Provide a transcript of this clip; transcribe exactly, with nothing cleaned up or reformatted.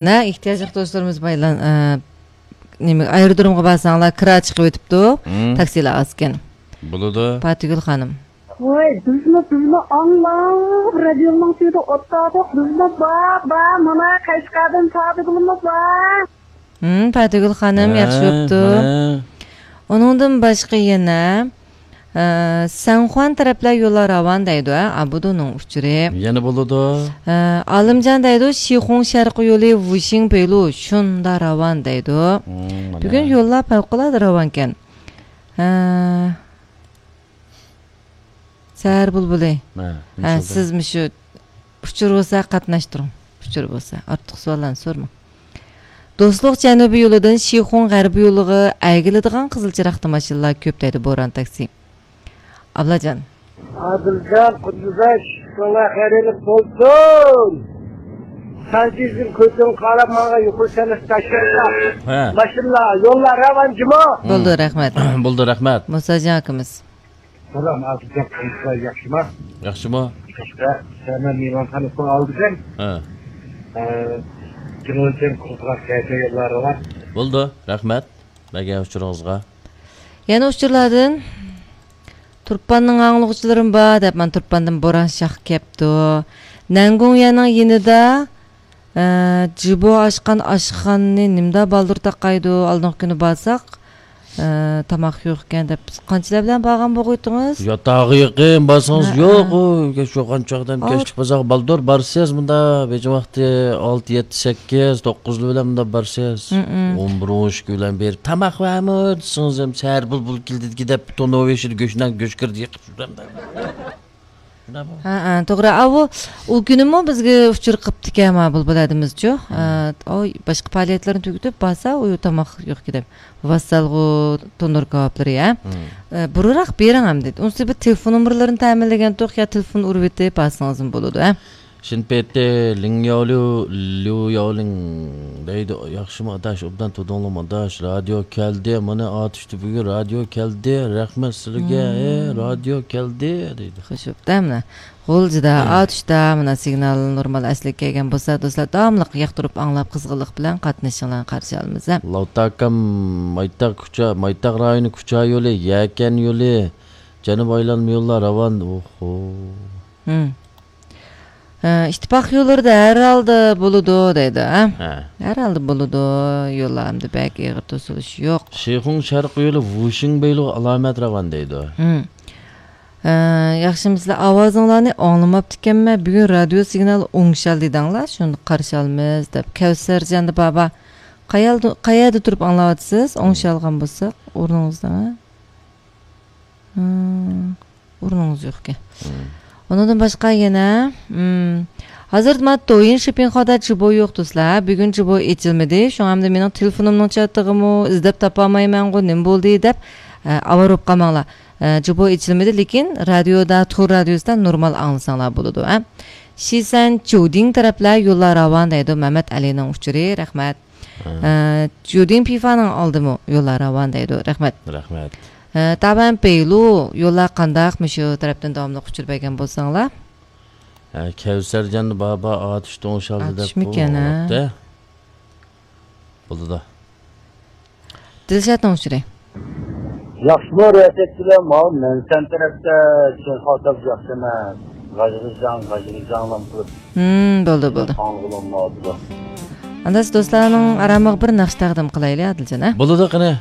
نە، ئېھتىياجلىق دوستلىرىمىز بايلان-، ئە، نېمە، ئايرودرومغا بارساڭلار، كىرا چىقىۋېتىپتۇ. مم. تاكسىلار ئاز ئىكەن. بولىدۇ. پاتىگۈل خانىم. ۋاي، بىزمۇ، بىزمۇ ئاڭلاپ، رادىيونىڭ تۈۋىدە ئولتۇردۇق. بىزمۇ بار، بار، مانا قەشقەردىن پاتىگۈلمۇ بار. ھىم، پاتىگۈل خانىم، ھە، ياخشى بوپتۇ. مانا. ئۇنىڭدىن باشقا يەنە، ئە، سەنخۇەن تەرەپلەر يوللار راۋان دەيدۇ، ھە، ئابۇدۇنىڭ ئۇچۇرى. يەنە بولىدۇ. ئە، ئالىمجان دەيدۇ، شىخۇڭ شەرقىي يولى ۋۇشىڭ بېيلۇ شۇندا راۋان دەيدۇ. ھىم، مانا. بۈگۈن يوللار پەۋقۇلئاددە راۋانكەن. ھە. سەھەر بۇلبۇلى. ھە، ھە، نېمە سىز مۇشۇ ئۇچۇر بولسا قاتناشتۇرۇڭ. ئۇچۇر بولسا. ئارتۇق سوئاللارنى سورىماڭ. دوستلۇق جەنۇبىي يولىدىن شىخۇڭ غەربىي يولىغا ئەگىلىدىغان قىزىل چىراغدا ماشىنىلار كۆپ دەيدۇ بوران تاكسى. ئابلاجان. ئادىلجان، قۇددۇزاش، شۇڭا خەيرلىك بولسۇن. سانجىزدىن كۆزۈڭ قاراپ ماڭا يۇقىرى سەنئەت تاشلىسا. ھە. ماشىنىلار، يوللار راۋان جۇمۇ. بولدى، رەھمەت. بولدى، رەھمەت. مۇساجان ئاكىمىز. سالام، ئابدۇجان قېرىنداشلار، ياخشىما؟ ياخشىمۇ؟ ياخشى. سەمەن مېھمانخانىسىنىڭ ئالدىدىن. ھە. ئە، جۇڭگوچەن قۇرۇقراق كەيپىياتلار بار. بولدى، رەھمەت بەرگەن ئۇچۇرىڭىزغا. يەنە ئۇچۇرلاردىن، تۇرپاننىڭ ئاڭلىغۇچىلىرىمۇ بار دەپ، مانا تۇرپاندىن بوران شاخ كەپتۇ. نەنگۇڭيەنىڭ يېنىدا ئە، جىبو ئاچقان ئاشخانىنى نېمىدا بالدۇر تاقايدۇ؟ ئالدىنقى كۈنى بارساق، ئە، تاماق يوق ئىكەن دەپ، بىز قانچىلەر بىلەن بارغان بولغىيتتىڭىز؟ ياتاققا يېقىن بارسىڭىز ھە، يوق، ھە. ئۇ كەچ يوغان چاغدىن ئاۋۇ كەچلىك بازارغا بالدۇر بارسىز، مۇندا بېجىڭ ۋاقتى ئالتە، يەتتە، سەككىز، توققۇز بىلەن مۇندا بارسىز. ھە، ھە. ئون بىر، ئون ئىككى بىلەن بېرىپ، تاماق بارمۇ دېسىڭىز، ھەم سەھەر بۇلبۇل كېلىدىكى دەپ، تونۇر بېشىدا گۆشنان گۆش كىردى يېقىپ يۈرەمدە. ھە، ھە، توغرا. ئاۋۇ، ئۇ كۈنىمۇ بىزگە ئۇچۇر قىپتىكەن ما بۇلبۇل ھەدىمىزچۇ. ھە، ئاۋۇ باشقا پائالىيەتلەرنى تۈگىتىپ بارسا، ئۇ تاماق يوق دەپ. ۋاسسالغۇ تونۇر كاۋاپلىرى، ھە. ھە، بۇرۇنراق بېرىڭ ئەمدى. ئۇنسى بىر تېلېفون نومۇرلىرىنى تەمىنلىگەنتۇق يا تېلېفون ئۇرۇۋېتىپ بارسىڭىزمۇ بولىدۇ، ھە. شىنپېتى لىڭ ياۋليۇ، ليۇ ياۋلىڭ دەيدۇ. ياخشىمۇ ئاداش، ئوبدان تۇردۇڭلۇمۇ ئاداش؟ رادىيو كەلدى، مانا ئاتۇشتا بۈگۈن رادىيو كەلدى، رەھمەت سىلىگە، ھە، رادىيو كەلدى دەيدۇ. خوش بوپتۇ، مانا. غۇلجىدا، ئاتۇشتا، مانا سىگنال نورمال ئەسلىگە كەلگەن بولسا، دوستلار داۋاملىق ياقتۇرۇپ ئاڭلاپ، قىزغىنلىق بىلەن قاتنىشىشىڭلارنى قارشى ئالىمىز، ھە. لاۋتاكام، مايتاق كۇچا، مايتاق رايونى كۇچا يولى، يەكەن يولى، جەنۇب ئايلانما يوللار راۋان. ئوھو. ھىم. ئە، ئىتتىپاق يوللىرىدا ھەر ھالدا بولىدۇ دەيدۇ، ھە؟ ھە. ھەر ھالدا بولىدۇ، يوللار ئەمدى بەك ئېغىر توسۇلۇش يوق. شىخۇڭ شەرقىي يولى ۋۇشىڭ بېيلۇغا ئالامەت راۋان دەيدۇ. ھىم. ئە، ياخشىمۇ سىلەر؟ ئاۋازىڭلارنى ئاڭلىماپتىكەنمەن، بۈگۈن رادىيو سىگنالى ئوڭشالدى دەڭلار، شۇنى قارشى ئالىمىز دەپ. كەۋسەرجان بابا، قەيەردە، قەيەردە تۇرۇپ ئاڭلاۋاتىسىز؟ ئوڭشالغان بولساق، ئورنىڭىزدا. ھىم. ئورنىڭىز يوقكەن. مم. ئۇنىڭدىن باشقا يەنە، مم، ھازىر مانا دويىن شىپىنخادا جىبو يوق دوستلار. بۈگۈن جىبو ئېچىلمىدى. شۇڭا ئەمدى مېنىڭ تېلېفونۇمنىڭ چاتىقىمۇ ئىزدەپ تاپالمايمەنغۇ، نېمە بولدى دەپ، ئە، ئاۋارە بولۇپ قالماڭلار. ئە، جىبو ئېچىلمىدى، لېكىن رادىيودا، تور رادىيوسىدا نورمال ئاڭلىساڭلار بولىدۇ، ھە. شىسەن جۇدىڭ تەرەپلەر يوللار راۋان دەيدۇ، مەمەت ئەلىنىڭ ئۇچۇرى، رەھمەت. ھە. ئە، جۇدىڭ پىفانىڭ ئالدىمۇ يوللار راۋان دەيدۇ. رەھمەت. رەھمەت. ئە، تابەن پېيلۇ يوللار قانداق؟ مۇشۇ تەرەپتىن داۋاملىق ئۇچۇر بەرگەن بولساڭلار. ھە، كەۋسەرجان بابا ئاتۇش توڭشالدى دەپ ئاتۇشمىكەن، ھە؟ بولىدۇ. دىلشاتنىڭ ئۇچۇرى. ياخشىمۇ رىياسەتچىلەر؟ ماۋۇ مەنسەن تەرەپتە چېيقالسا ياخشى ئەمەس. غاژغىژاڭ، غاژغىژاڭلام قىلىپ. ھىم، بولدى، بولدى. ئانداس دوستلارنىڭ ئارامىغا بىر ناخشا تەقدىم قىلايلى، ئادىلجان، ھە؟ بولىدۇ، قېنى.